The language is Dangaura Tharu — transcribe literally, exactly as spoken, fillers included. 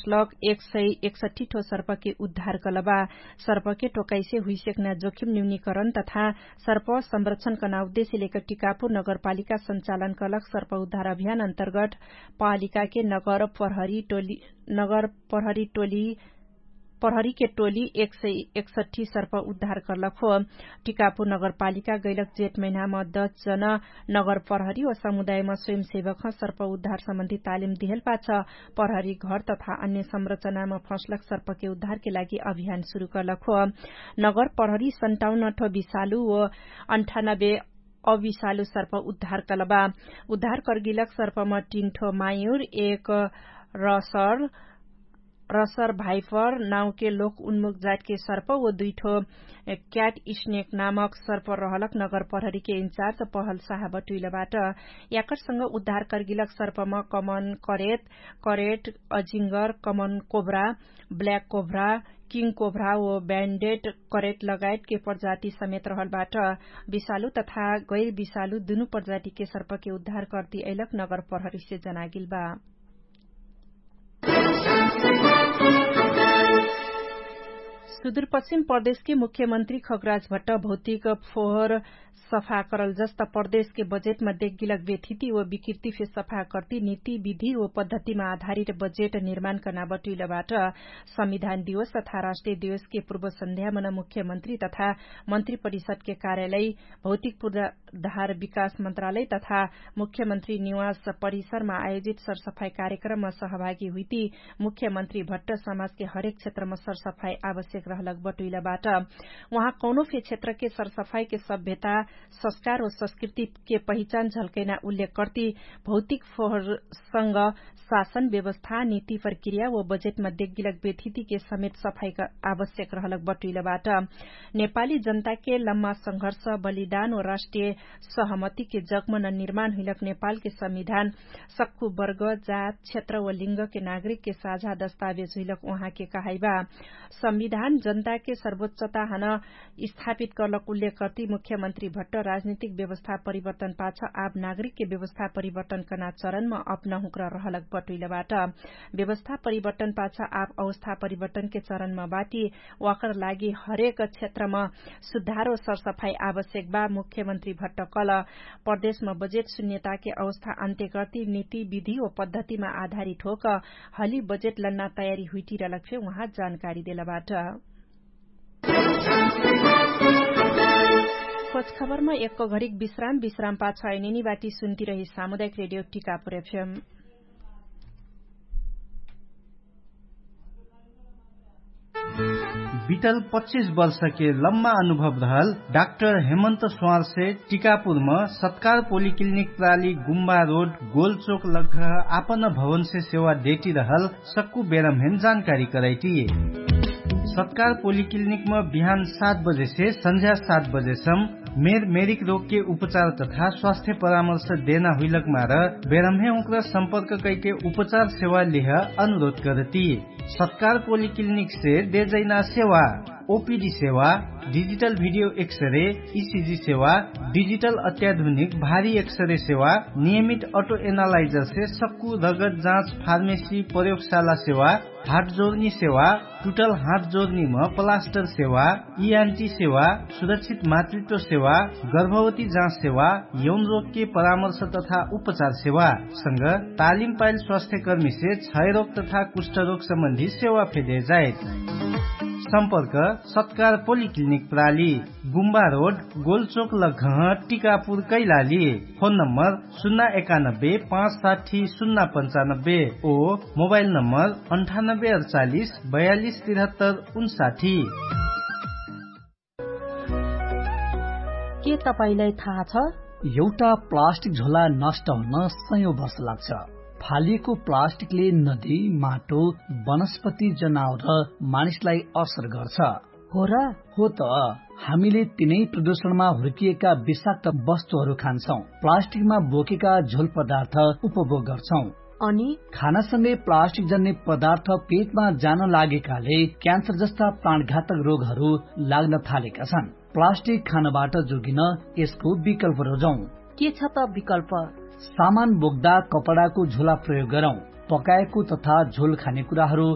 लग एक सय एकसठ्ठी ठो सर्पके उद्धार कलबा। सर्पके टोकाइसे हुइसेक्ना जोखिम न्यूनीकरण तथा सर्प संरक्षणकना उद्देश्य लेकर टिकापुर नगरपालिका सञ्चालन कलक सर्प उद्धार अभियान अन्तर्गट पालिकाके नगर प्रहरी टोली नगर प्रहरी टोली प्रहरीके टोली एक सय एकसठ्ठी सर्प उद्धार कर्लक हो। टिकापुर नगरपालिका गैलक जेठ महिनामा दस जन नगर प्रहरी व समुदायमा स्वयंसेवकह सर्प उद्धार सम्बन्धी तालिम दिहेल पाछ प्रहरी घर तथा अन्य संरचनामा फँसलक सर्पके उद्धारके लागि अभियान सुरु कर्लक हो। नगर प्रहरी सन्ताउन्न ठो विषालु व अन्ठानब्बे अविषालु सर्प उद्धार कलबा। उद्धार कर्गिलक सर्पमा तीन ठो मायुर एक रसर रसर भाइपर नाउके लोक उन्मुख जातके सर्प व दुइठो क्याट स्नेक नामक सर्प रहलक नगर प्रहरीके इन्चार्ज पहल साहब टुइलबाट। याकरसँग उद्धार कर्गिलक सर्पमा कमन करेट करेट अजिङ्गर कमन कोभ्रा ब्ल्याक कोभ्रा किङ कोभ्रा व ब्यान्डेट करेट लगायतके प्रजाति समेत रहलबाट। विषालु तथा गैर विषालु दुनु प्रजातिके सर्पके उद्धार कर्ति अइलक नगर प्रहरीसे जनागिलबा। सुदूरपश्चिम प्रदेशके मुख्यमन्त्री खगराज भट्ट भौतिक फोहर सफा करल जस्त प्रदेशके बजेटमा देखगिलक व्यथिति व विकृति फे सफा कर्ति नीति विधि व पद्धतिमा आधारित बजेट निर्माण कर्ना बटुइलबाट। संविधान दिवस तथा राष्ट्रिय दिवसके पूर्व सन्ध्यामन मुख्यमन्त्री तथा मन्त्री परिषदके कार्यालय भौतिक पूर्वाधार विकास मन्त्रालय तथा मुख्यमन्त्री निवास परिसरमा आयोजित सरसफाई कार्यक्रममा सहभागी हुइती मुख्यमन्त्री भट्ट समाजके हरेक क्षेत्रमा सरसफाई आवश्यक रहलक बटुइलबाट। उहाँ कौनो फे क्षेत्रके सरसफाईके सभ्यता संस्कार व संस्कृतिके पहिचान झल्कैना उल्लेख कर्ति भौतिक फोहरसँग शासन व्यवस्था नीति प्रक्रिया व बजेटमा देखगिलक व्यथितिके समेत सफाई आवश्यक रहलक बटुइलबाट। नेपाली जनताके लम्मा संघर्ष बलिदान व राष्ट्रिय सहमतिके जगमन निर्माण हुइलक नेपालके संविधान सक्कु वर्ग जात क्षेत्र व लिङ्गके नागरिकके साझा दस्तावेज हुइलक उहाँके कहाइबा। संविधान जनताके सर्वोच्चता हन स्थापित कर्लक उल्लेख कर्ति मुख्यमन्त्री भट्ट राजनीतिक व्यवस्था परिवर्तन पाछ आब नागरिकके व्यवस्था परिवर्तन कर्ना चरणमा अपना हुँक्र रहलक बटुइलबाट। व्यवस्था परिवर्तन पाछ आब अवस्था परिवर्तनके चरणमा बाटी वाकर लागि हरेक क्षेत्रमा सुधार व सरसफाई आवश्यक बा मुख्यमन्त्री भट्ट कल प्रदेशमा बजेट शून्यताके अवस्था अन्त्य कर्ति नीति विधि व पद्धतिमा आधारित होक हली बजेट लन्ना तयारी हुइटिरलक फे उहाँ जानकारी देलबाट। खोजखबरमा एक्क घरिक विश्राम विश्राम पाछ अइनेनी बाटी सुन्तिरही सामुदायिक रेडियो टिकापुर एफएम। बितल पच्चिस वर्षके लम्मा अनुभव रहल डाक्टर हेमन्त स्वारसे टिकापुरम सत्कार पोलिक्लिनिक प्राली गुम्बा रोड गोलचोक लग्घ आपन भवनसे सेवा देटिरहल सक्कु बेरम्हेन जानकारी करैटी। सत्कार पोलिक्लिनिकम बिहान सात बजेसे सन्झ्या सात बजेसम मेर मेरिक रोगके उपचार तथा स्वास्थ्य परामर्श देना हुइलक मार बेरम्हे उक्र सम्पर्क कैके उपचार सेवा लिह अनुरोध करती। सत्कार पोलिक्लिनिकसे देजैना सेवा ओपिडी सेवा डिजिटल भिडियो एक्सरे इसिजी सेवा डिजिटल अत्याधुनिक भारी एक्सरे सेवा नियमित अटो एनालाइजरसे सक्कु रगत जाँच फार्मेसी प्रयोगशाला सेवा हाट जोर्नी सेवा टुटल हाट जोर्नीम प्लास्टर सेवा इआन्टी सेवा सुरक्षित मातृत्व सेवा गर्भवती जाँच सेवा यौन रोगके परामर्श तथा उपचार सेवा संग तालिम पाइल स्वास्थ्यकर्मीसे क्षयरोग तथा कुष्ठरोग सम्बन्धी सेवा फेदे जाइत। सम्पर्क सत्कार पोलिक्लिनिक प्राली गुम्बा रोड गोलचोक लघह टिकापुर कैलाली। फोन नम्बर सुन्ना एकानब्बे पाँच साठी सुन्ना पन्चानब्बे ओ मोबाइल नम्बर अन्ठानब्बे अडचालिस बयालिस तिरहत्तर उन्साठी। के तपाईंलाई थाहा छ? एउटा प्लास्टिक झोला नष्ट हुन सयौं वर्ष लाग्छ। फालिएको प्लास्टिकले नदी, माटो, वनस्पति, जनावर र मानिसलाई असर गर्छ। हो र? हो त। हामीले तिनै प्रदूषणमा हुर्किएका विषाक्त वस्तुहरू खान्छौं। प्लास्टिकमा बोकेका झोल पदार्थ उपभोग गर्छौं। अनि खानासँगै प्लास्टिक जन्ने पदार्थ पेटमा जान लागेकाले क्यान्सर जस्ता प्राणघातक रोगहरू लाग्न थालेका छन्। प्लास्टिक खानबाट जोगिन यसको विकल्प रोजौं। के छ त विकल्प? सामान बोक्दा कपडाको झोला प्रयोग गरौं। पकाएको तथा झोल खाने कुराहरू